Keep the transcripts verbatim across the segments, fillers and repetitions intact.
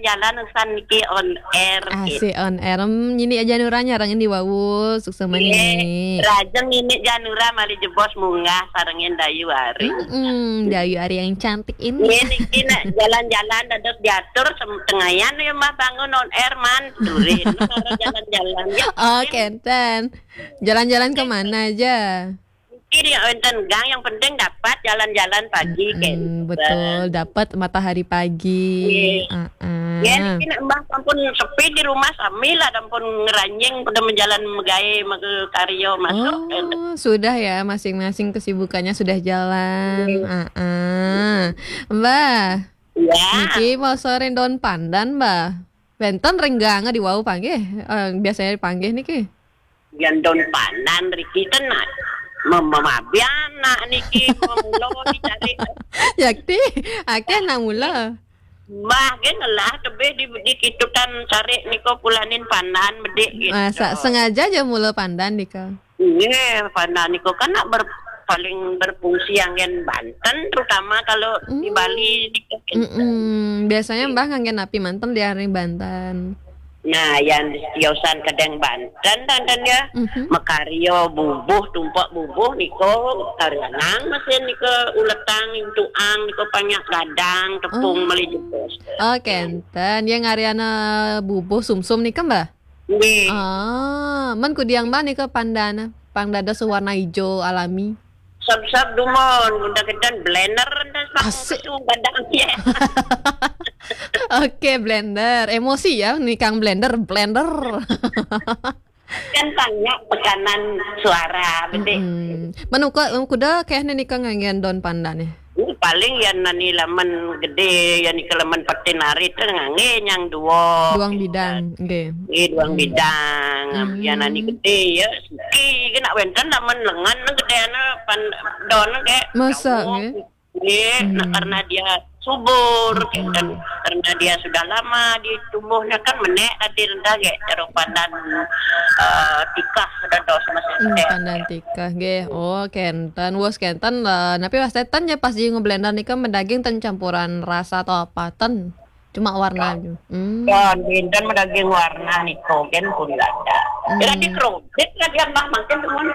Jalan usan niki on air. Asik on air. Hmm, ini aja Nuranya rangen di wau, suksma ini. Rajeng ini Janura malih jebos munggah sarengin Dayu Ari. Hmm, Dayu Ari yang cantik ini. Ini niki nak jalan-jalan dados diatur sem- tengayan ya Mbah bangun on air man. Durin jalan-jalan ya. Oh, kenten. Jalan-jalan kemana aja? Kiri wonten gang, yang penting dapat jalan-jalan pagi. Hmm, kenten. Betul, dapat matahari pagi. Nggih. Heeh. Ya, niki nek Mbah sampun sepi di rumah, sami lah sampun ngeranjing pada menjalan megawe mega karya masuk. Oh, sudah ya, masing-masing kesibukannya sudah jalan. Nggih. Heeh. Mbah. Ya. Niki mau sore daun pandan, Mbah. Wenten ring gange di wau panggih. Eh, biasanya dipanggih niki. Yen daun pandan riki ten mem- memabi anak niki memulo dicari. Yakti, akeh anak mula. Mbah nggih ngelah tebih di, di kitutan cari nika pulanin pandan bedik gitu. Masa sengaja aja mula pandan nika. Nggih, pandan nika kan nak ber- paling berfungsi anggen Banten, terutama kalau di Bali nika. Mm-mm. Biasanya Mbah nganggen napi manten di hari Banten? Nah, yang tiosan kedeng Banten, Banten ya. Mhm. Makarya bubuh, tumpuk bubuh nika karyanang mesin nika uletang, intuang nika panyak gadang, tepung. Oh. Meli jebos. Oh, kenten. Ya ngaryana bubuh sumsum nika, Mbah? Nggih. Ah, men kudiang Mbah nika pandana, pang dados warna ijo alami. Sab-sab dumun, udah kenten blender, enten. Asik. Gadang ya. Oke, blender. Emosi ya, nikang blender, blender. Kan banyak tekanan suara, bedik. Mm-mm. Men uka, kuda kehne nika nganggen daun pandan ya? Ini paling yang nani laman gede, yang nika laman petin arit tu ngangge yang dua. Duang bidang, nggih. Nggih, duang bidang. Hmm. Yang nani gede ya, suki kena wenten laman lengan gede ana pan daun ke. Masa, nggih? Nggih, nah, karena dia subur, kan. Karena dia sudah lama di tubuhnya kan menek tadi rendah, ya, cara pandan, eh, tikah dados masih. Hmm, menek. Pandan tikah, nggih. Oh, kenten, wes kenten lah. Tapi pas ten ya pas di ngeblender nika mendaging ten campuran rasa atau apa ten? Cuma warna aja. Hmm. Ya, dinten mendaging warna nika, kan pun ada. Hmm. Jadi kredit lagi yang mah makin temen.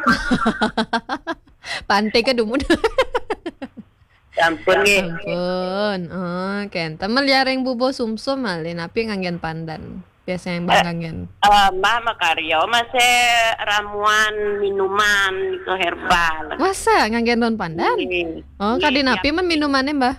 Pantai ke dumun. Sampun nggih. Sampun. Oh, kenten. Meliaring bubuh sumsum malih napi nganggen pandan? Biasanya Mbah nganggen. Eh, Mbah makarya masih ramuan minuman ke herbal. Masa nganggen daun pandan? Nggih. Oh, kadi napi men minumannya, Mbah?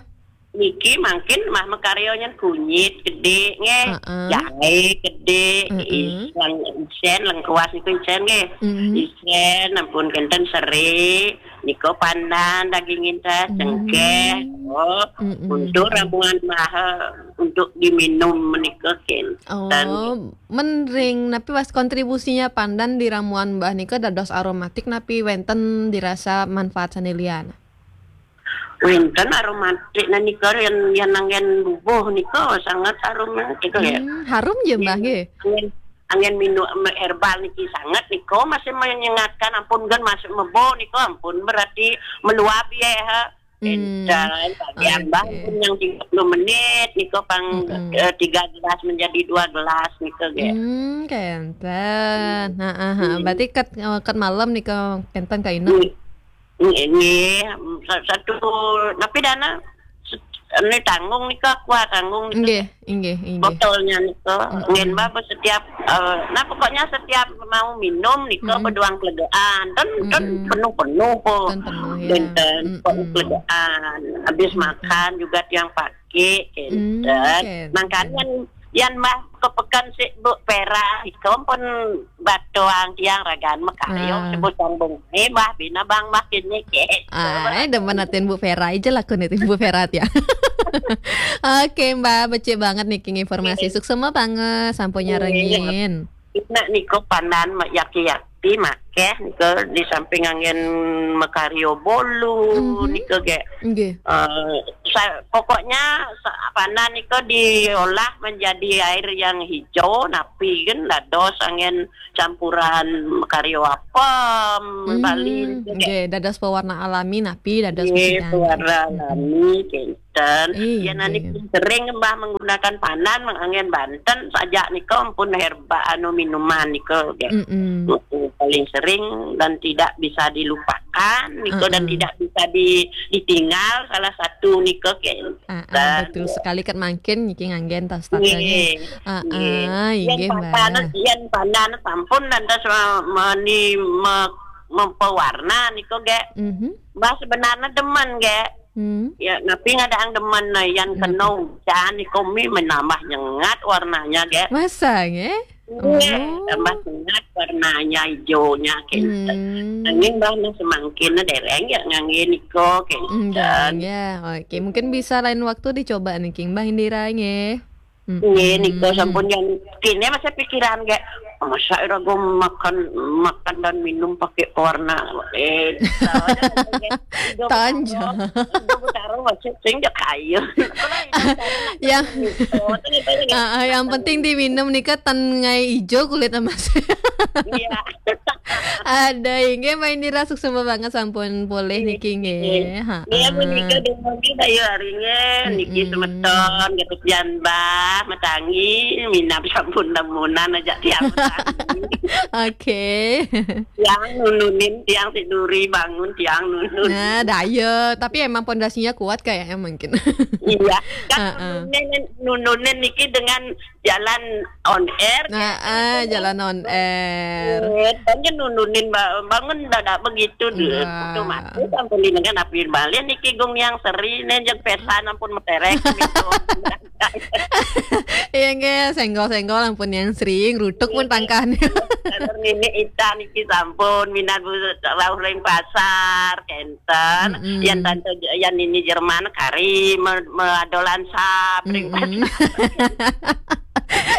Niki mangkin Mbah makarya nyen kunyit gede nggih. Heeh. Jahe gede, heeh. Is-, lang-, isen, lengkuas niku isen nggih. Mm-mm. Isen, ampun kenten seri. Nika pandan, daging intes, cengkeh. Oh, untuk ramuan Mbah, untuk diminum menika kenten. Oh, men ring napi was kontribusinya pandan di ramuan Mbah nika dados aromatik napi wenten dirasa manfaat sane liyan? Wenten aromatik nika yang, yang nanggen bubuh nika sangat aromatik ya. Hmm, harum ya, Mbah, nggih? Anggen, anggen minum herbal niki sangat nika masih menyengatkan, ampun kan masih mebo nika ampun berarti meluap ya, ha. Hmm. Encan, Pak Diambang pun yang tiga puluh menit nika pang, eh, tiga gelas menjadi dua gelas nika nggih. Hmm, kenten. Heeh, heeh. Berarti ket, ket malam nika kenten kainep. Nggih. Nggih, nggih. Sa-, satu, tapi dana se-, ini tanggung nika, kuah tanggung nika. Nggih, nggih, nggih. Botolnya nika. Mm-mm. Nggih, Mbak, setiap, eh, nah, pokoknya setiap mau minum nika, mm-mm, beduang kelegaan. Ten, ten, mm-mm, penuh-penuh po. Ten penuh, ya. Ten, ten, mm-mm, pokoknya kelegaan. Habis, mm-mm, makan juga tiang pakai, kenten. Mm, kenten. Makanya yang Mbah kepekan si Bu Pera, nika pun batuang tiang ragan makarya, ah, sebut sambung. Eh, Mbah, bina bang makin niki. Ah, eh, demen atin Bu Vera aja lah, kun itu Bu Vera ya. Oke, Mbah, becik banget niki informasi. Nggih. Suksma banget, sampun nyarengin. Nak niku pandan ma-, yaki-yaki makeh niku di samping angin makarya bolu, mhm, niku ge. Nggih. Eh, sa-, pokoknya sa-, pandan niku diolah menjadi air yang hijau, napi kan dados angin campuran makarya apem, hmm, Bali niku ge. Nggih, dados pewarna alami napi dados, nggih, pewarna alami, nggih. Banten. Ih, ya, nani iya. Sering mbah menggunakan pandan, menganggen Banten, sajak nika ampun herba anu minuman nika, ge. Mm-mm. Paling sering dan tidak bisa dilupakan nika, dan uh-uh. Tidak bisa di, ditinggal salah satu nika, ge. Ah, ah, dan betul sekali, kan mangkin niki nganggen tas tata, nggih. Ah, nggih. Ah, yang inggih, pandan, Mbak. Yang pandan sampun lantas me-, meni-, me-, mempewarna nika, ge. Mhm. Mbah sebenarnya demen, ge. Hmm. Ya, tapi ngadang demen, nah, yang hmm. Kena hujan nika mi menambah nyengat warnanya, ge. Masa, nggih? Iya, oh. Tambah sehat warnanya hijaunya, gitu. Hmm. Nanging mbah nah semangkin dereng ya ngangge nika, gitu. Hmm, dereng ya. Oke, mungkin bisa lain waktu dicoba niki, Mbah Indira, nggih. Mm-mm. Nggih, nika sampun yang kene masih pikiran, kayak, "Masa ira gua makan, makan dan minum pakai pewarna?" Eh, soalnya kan, kayak, Tanja. Ibu Taro masih sing jek ayu. Yang, ah, ah, yang penting diminum nika ten ngai ijo kulit emas. Iya. Ada, inggih, Mbak Indira, suksma banget sampun polih niki, nggih. Iya, menika dumugi dayu aringe, niki semeton, Gatut Janbah, Matangi, minab sampun lamunan aja tiang Matangi. Oke. Tiang nununin, tiang tiduri, bangun, tiang nunun. Nah, dayu. Tapi emang pondasinya kuat kayaknya mungkin. Iya, kan nununin, nununin niki dengan jalan on air, nah, jalan on air. Kan nununin ba-, bangun dadak begitu, deh. Otomatis ampun dengan api balik niki gung yang seri, nih, jeng pesan ampun meterek, gitu. Iya, nggih, senggol-senggol ampun yang sering, rutuk pun tangkane. Kalau nini ita niki sampun, minat bu, rauh ring pasar, kenten. Yan tante, yan nini Jerman, kari, me-, meadolan sap, ring pasar.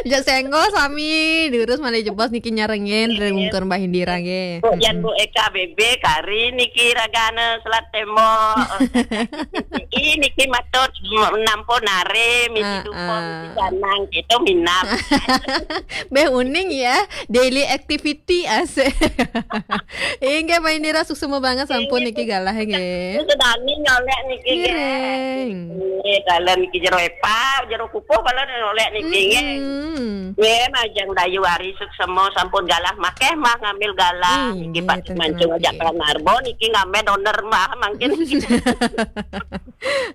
Jak senggol sami, diurus malih jebos niki nyarengin, dari mungkur Mbah Indira, nggih. Bu, yan Bu Eka B B, kari, niki ragane selat tembok. Ih, niki matur, nampo nare, misi dupo, misi sanang, gitu, minap. Beh uning ya, daily activity asik. Inggih, Mbak Indira, suksma banget sampun niki galah, nggih. Sedani nyolek niki, nggih. Nggih, kalian niki jero epa, jero kukuh, kalian nyolek niki, nggih. Nggih, majeng dayu ari suksma sampun galah, makeh mah ngambil galah. Niki pas mancung aja Kalarbo, niki ngambil donor mah, mangkin.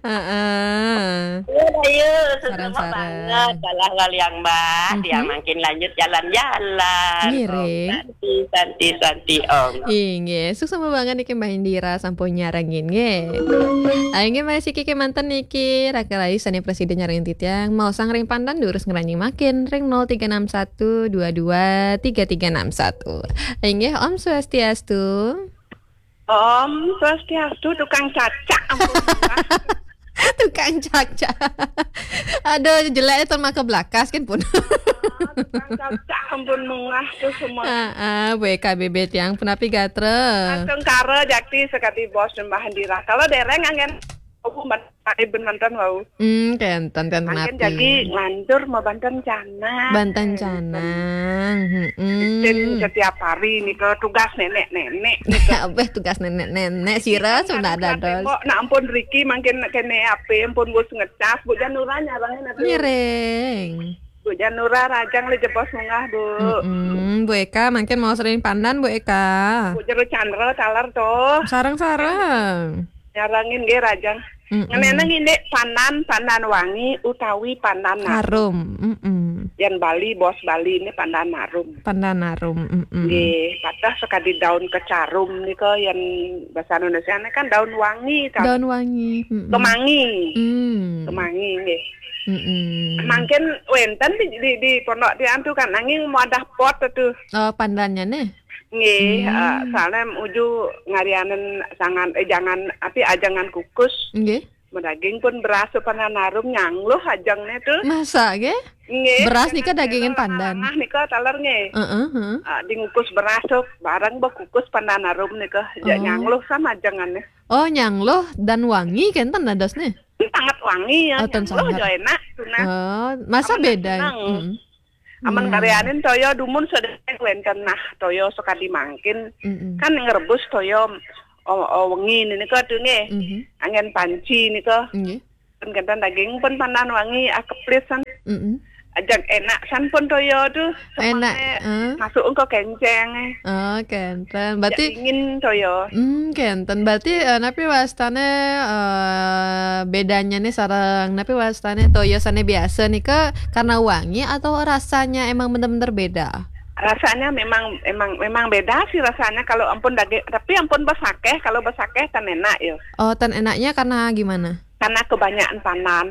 Heeh. Iya, iya, seneng banget. Kalah kali yang Mbah, dia makin lanjut jalan-jalan. Ngiring. Om Santi, Santi, Santi, Om. Inggih, suksma banget niki Mbah Indira sampun nyarengin, nggih. Ayo, nggih, masih kiki manten niki, Raka Rayu sane presiden nyarengin titiang, mau sang ring pandan durus ngeranjing makin, ring nol tiga enam satu dua dua tiga tiga enam satu. Inggih, Om Swastiastu. Om Swastiastu, tukang cacak, ampun, Mbah. Tukang cacak. Aduh, jelek itu maka belakas kan pun. Ah, tukang cacak, ampun, mungah tuh semua. Ah, ah, Bu Eka B B tiang pun api gatra. Tengkara jakti sekati bos Mbah Indira. Kalau dereng anggen, oh, ben mantan wau. Hmm, kenten, kenten. Mangkin api. Jadi nganjur mau banten canang. Banten canang. Heeh. Setiap hari nika tugas nenek-nenek. Abeh tugas nenek-nenek, sira sudah dados. Kok nak ampun riki mangkin kene ape, ampun wis ngecas, Bu Janura nyarengin ape? Ngiring. Bu Janura rajang le jebos munggah, Bu. Mm-mm. Bu Eka, mangkin mau sering pandan, Bu Eka. Bu Jero Chandra taler to. Sareng-sareng. Nyarengin nggih rajang. Mm-mm. Ngeneneng indik pandan, pandan wangi utawi pandan harum. Harum. Mm-mm. Yen Bali, bos Bali ini pandan harum. Pandan harum. Mm-mm. Nggih, patah sekadi daun kecarum nika yen bahasa Indonesia ini kan daun wangi, kan? Daun wangi. Mm-mm. Kemangi. Mm. Kemangi nggih. Mm-mm. Mangkin wenten di, di, di pondok tiang tu kan, nanging wadah pot tu. Oh, pandannya nih. Nggih, hmm. Eh, soalnya uju ngarianen sangan, eh, jangan, api ajangan kukus. Nggih. Medaging pun beras pandan harum nyangluh ajangne tu. Masa nggih? Nggih. Beras nika dagingin pandan. Nah, nika taler nggih. Heeh, heeh. Ah, dingukus beras tu, bareng bekukus pandan harum nika, ja nyangluh sama ajangannya. Oh, nyangluh dan wangi kenten dadosne. Sangat wangi ya, oh, nyangluh sangat. Jo enak, tunah. Oh, masa beda? Seneng. Mm. Aman karyanin toyo dumun sedek wenten nah toyo sekadi mangkin. Mm-mm. Kan ngrebus toyo o-, o-, wengi nika tu nggih. Mhm. Anggen panci nika. Nggih. Pun kenten daging pun pandan wangi, ah, keplis san. Mm-mm. Ajak enak san pun toyo tu. Enak, semangnya eh. Masuk engko kenceng, eh. Oh, kenten. Berarti dingin toyo. Hmm, kenten. Berarti, eh, napi wastane, eh, bedanya nih sareng napi wastane toyo sane biasa nih ke karena wangi atau rasanya emang bener-bener beda? Rasanya memang, emang, memang beda sih rasanya kalau ampun daging, tapi ampun besakeh, kalau besakeh tan enak ya. Oh, tan enaknya karena gimana? Karena kebanyakan pandan.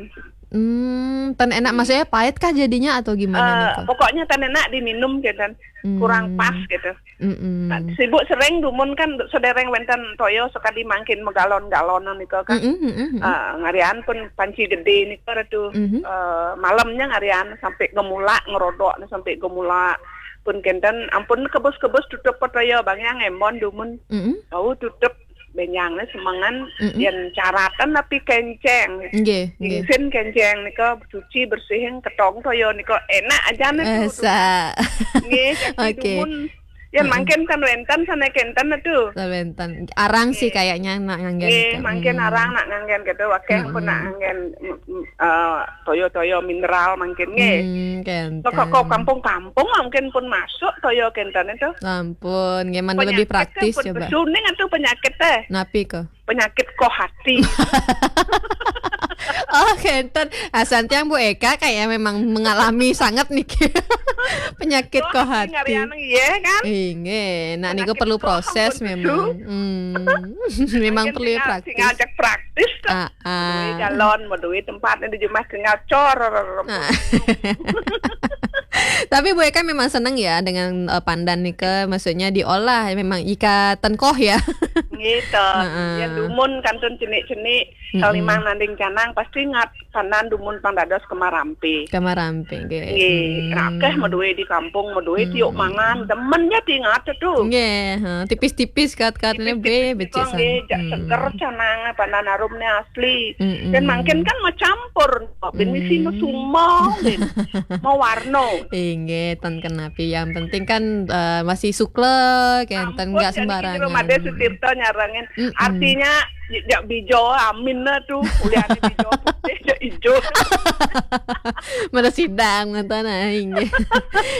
Hmm, tan enak maksudnya pahit kah jadinya atau gimana nih, eh, Kak? Pokoknya tan enak diminum gitu. Hmm. Kurang pas gitu. Mm-mm. Nah, sibuk sering dumun kan sedereng wenten toyo sekali mangkin megalon-galonan nika kan. Mm-mm, mm-mm. Eh, ngarian pun panci gede nika tu. Mm-hmm. Eh, malamnya ngarian sampai gemulak ngerodok sampai gemulak. Pun kenten ampun kebus-kebus tutup toyo bang yang emon dumun. Mm-mm. Tahu tutup benjangnya semengan. Mm-mm. Yen caratan tapi kenceng. Nggih, nggih. Dingin kenceng nika cuci bersihin ketong toyo nika enak aja nih. Esa. Nggih, jadi oke. Dumun. Ya, mm-mm. Mangkin kan wenten sana kenten tu. Wenten. Arang sih kayaknya nak nganggen. Nggih, mangkin arang nak nganggen gitu. Wakil pun nak nganggen, mm, mm, eh, toyo-toyo mineral mangkin nggih. Hmm, kenten. Kok, kok kampung-kampung mungkin pun masuk toyo kenten itu. Ampun, nggih, mana lebih praktis pun coba. Suning atau penyakit teh? Napi ke? Penyakit koh hati. Oh, kenten. Asan tiang Bu Eka kayak memang mengalami sangat nih. Penyakit koh hati. Ngarian iya kan? Inggih, nah niku perlu proses memang. Hmm. Memang perlu praktis. Ngajak praktis. Ah, ah. Duwe galon, mau duwe tempat di jumah tinggal cor. Ah. Tapi Bu Eka memang seneng ya dengan, eh, pandan nika, maksudnya diolah memang ika tengkoh ya. Gitu. Heeh. Ya dumun kantun cenik-cenik. Mm-mm. Kalau memang nanding canang pasti ngat pandan dumun pang dados kemarampe. Kemarampe, nggih. Nggih, rakeh meduwe di kampung, meduwe tiuk mangan, demen ya diingat tu. Nggih, ha, tipis-tipis kat-katnya be becik san. Nggih, jak seger canang pandan harumnya asli. Mm-mm. Dan mangkin kan mau campur, bin misi mau sumau, bin mau warno. Inggih, tan kenapi. Yang penting kan, eh, masih sukle, kenten nggak sembarangan. Made Sutirta nyarengin. Mm-mm. Artinya, jak bijo amin lah tu. Kuliah di bijo putih, jak ijo. Mana sidang, mana tanah, inggih.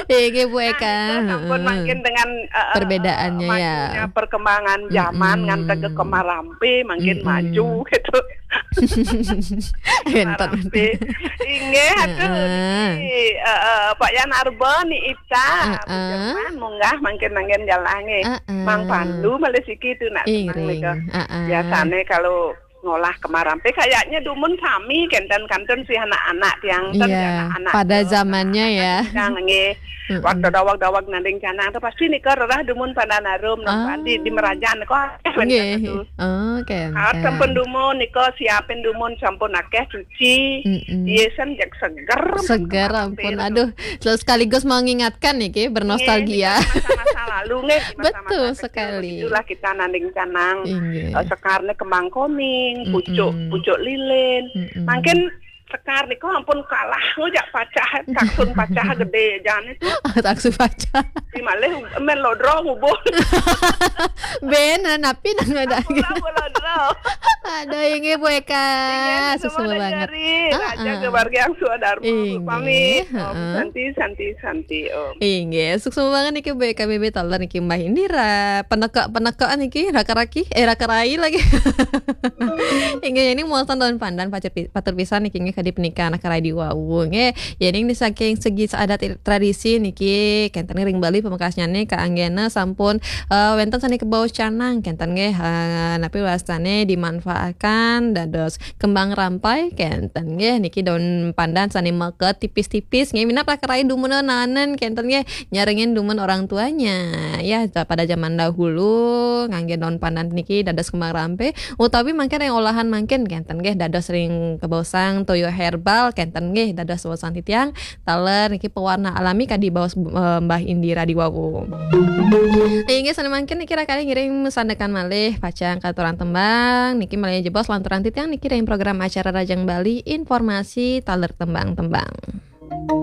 Inggih, Bu Eka. Nah, itu sampun makin dengan, eh, eh, perbedaannya ya. Majunya perkembangan zaman, ngantek ke kemarampe, makin maju gitu. Enten. Inggih, aduh, niki, eh, eh, Pak Yan Arba, ni Ita, Bu Jerman, munggah mangkin-mangkin galah nggih. Mang Pandu malih siki tu nak seneng nika. Biasane kalau ngolah kemarampe kayaknya dumun sami kenten kantun sih anak-anak tiang ten. Iya, anak-anak pada zamannya ya. Tiang nggih. Waktu dawag-dawag nanding canang tu pasti nika rerah dumun pandan harum, di, di Merajan kok akeh. Nggih. Oh, kenten. Sampun dumun nika siapin dumun sampun akeh cuci. Mm-mm. Iya san jak seger. Seger ampun. Aduh, terus sekaligus mengingatkan niki bernostalgia. Nggih, masa-masa lalu nggih, masa-masa kecil. Betul sekali. Itulah kita nanding canang. Inggih. Eh, sekarne kembang koning, pucuk, pucuk lilin. Mm-mm. Mangkin sekar niku ampun kalah ngujak pacah, taksun pacah gede jane tu. Taksun pacah. Di malih men lodro ngubuh. Ben, napi nang ada. Ampun, ampun, lodro. Aduh, inggih Bu Eka. Inggih, suksma banget. Raja keluarga yang suadarma. Inggih, pamit. Om Santi, Santi, Santi, Om. Inggih, suksma banget niki Bu Eka B B taler niki Mbah Indira. Peneka-penekaan niki raka-raki, eh, raka-rai lagi. Inggih, ini muatan daun pandan pacar pi-, patur pisan niki nggih kadi pernikahan anak rai di wau nggih. Jadi ini saking segi adat tradisi niki kenten ring Bali pamekasnyane kaanggena sampun, eh, wenten sane kebaos canang kenten nggih, eh, napi wastane dimanfaatkan dados kembang rampai kenten nggih niki daun pandan sane meket tipis-tipis nggih minab raka rai dumun nanen kenten nggih nyarengin dumun orang tuanya. Ya, pada zaman dahulu ngangge daun pandan niki dados kembang rampai utawi mangkin ring olahan mangkin kenten nggih dados ring kebosang toyo herbal kenten nggih dados waosan titiang taler niki pewarna alami kadi baos, eh, Mbah Indira di wau. Inggih sane mangkin niki raka rai ngiring sandekan malih pacang katurang tembang niki malih jebos lanturang titiang niki ring program acara Rajang Bali informasi taler tembang-tembang.